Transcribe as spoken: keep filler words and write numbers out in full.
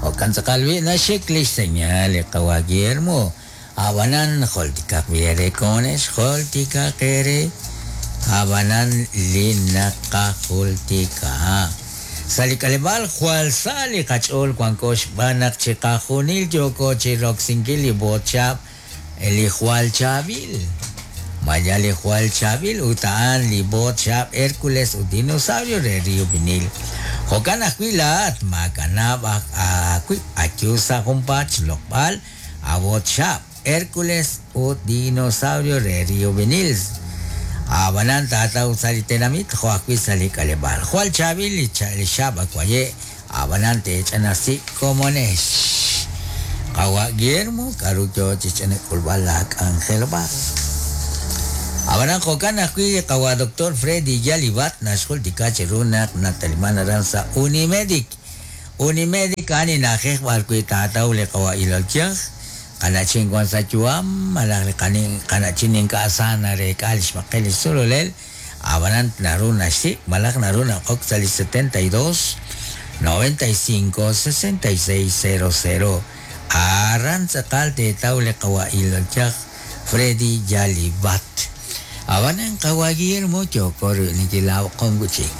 Jo'kan tz'aqal wi naxik li xseñal li qawa' Guillermo. Ab'anan jultikaq ere komonex, jultikaq ere. Ab'anan li naqajultika. Sa' li k'aleb'aal jwal sa' li qach'ool wanko xb'aan naq chiqajunil yooko chi roksinkil li botxab' li jwal chaab'il. Maya li jwal chaab'il ut a'an li botxab' Hércules ut Dinosaurio re Río Vinil. Jo'kan ajwi' laa'at maakanab' aawib' ayu sa' junpaat xloq'b'al abotxab' Hércules ut Dinosaurio re Río Vinil. Ab'anan taataw sa' li tenamit jo' ajwi' sa' li k'aleb'aal. Jwal chaab'il li li xab' akwaye' ab'anan teech'anasi komonex. Qawa' Guillermo k'aru yoo chi ch'anak'ulb'al la k'anjelob'aal. Ab'anan jo'kan ajwi' qawa' Doctor Freddy Yalibat naxjultika chiru naq nataliman aran sa' Unimedic. Unimedic a'an na'ajej b'ar wi' taataw li qawa' ilol yaj. Qana'chin wan sa' yu'am, malaj li qana'chin ink'a' sa nareek'a li xb'aqel li sululel. Ab'anan naru naxsik' malaj naru naqok sa' li setenta y dos, noventa y cinco, sesenta y seis, cero cero. Aran tz'aqal teetaw li qawa' ilol yaj Freddy Yalibat. Ab'anan qawa' Guillermo yooko nikilaaw qom wichik.